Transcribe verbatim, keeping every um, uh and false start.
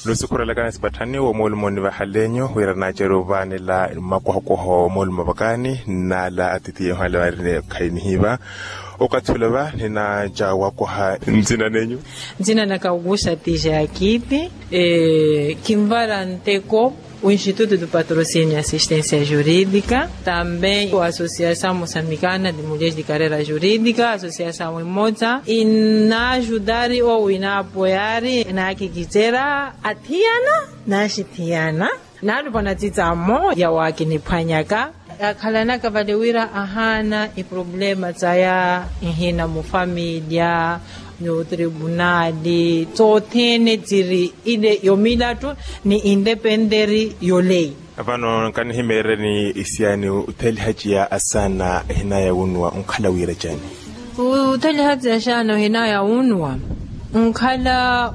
Lusikhurelakani sipatthani womoolumo nivahaleyo wira naacerya ovaanela mmakohokoho womoolumo vakani. Nnala atitiye ohale varine khayi nihiva okathi ula va ninaaca wakoha. Nzina nenyu? Nzina naka okuxa tija ya kiiti. Kinvara nteko o instituto do patrocínio assistência jurídica também o associação moçambicana de mulheres de carreira jurídica associação imotsa inajudari ou inaapoyari inaakikicerya athiyana naxithiyana. Naalupwana tsitsamo yawakiniphwanyaka akhalanaka vale wira ahaana iproblema tsaya ihina mufamilya n'otribunali tsothene tsiri ile yomilattu ni independeri yoleyi. Vano nkanihimeereni isiyani uthelihaciya asaana ehinaya wunnuwa onkhala wira cani? Uthelihaciya asaana ohinaya wunnuwa onkhala